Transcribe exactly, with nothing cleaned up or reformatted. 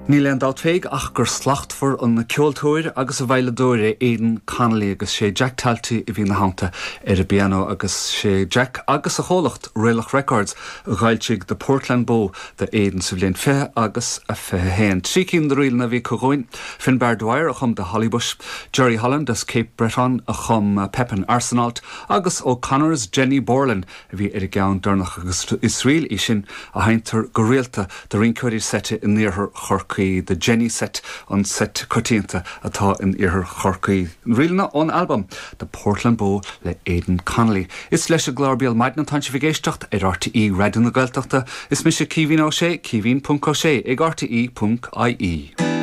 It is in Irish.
Níl aon dabht faoi ach gur slachtmhar an ceoltóir agus an veidhleadóir é Aidan Connolly agus sé Jack Talty a bhí ina theannta ar an bpianó agus sé Jack agus a chomhlacht Réalach Records a d'fhoilsigh The Portland Bow do Aidan sa bhliain fiche agus a fiche haon. Trí cinn de ríleanna a bhí againn, Finbar Dwyer a chum The Hollybush, Jerry Holland as Cape Breton a chum Pepin Arsenault agus O'Connor's Jenny Borland a bhí ar an gceann deireanach agus is ríl í sin a sheinntear go rialta do rinceoirí seite in iarthar Chorcaí the Jenny Set an set coitianta atá in iarthar Chorcaí. Ríleanna ón album The Portland Bow le Aidan Connolly. Is leis an gclár Béal Maidine atá sibh ag éisteacht ar RTÉ Raidió na Gaeltachta, is mise Caoimhín Ó Sé Caoimhín.ó sé ag RTÉ.ie.